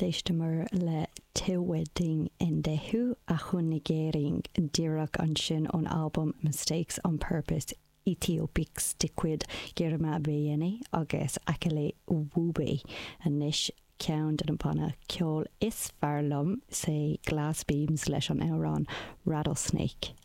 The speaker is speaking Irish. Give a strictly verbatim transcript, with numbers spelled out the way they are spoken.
D'éisteamar le Teweldegn Endehu Ahunigering díreach ansin ón albam Mistakes on Purpose Éthiopiques de chuid Girma Beyene agus Akili Wube anois ceann de na bannaí ceoil is fearr liom sé Glass Beams leis an amhrán Rattlesnake.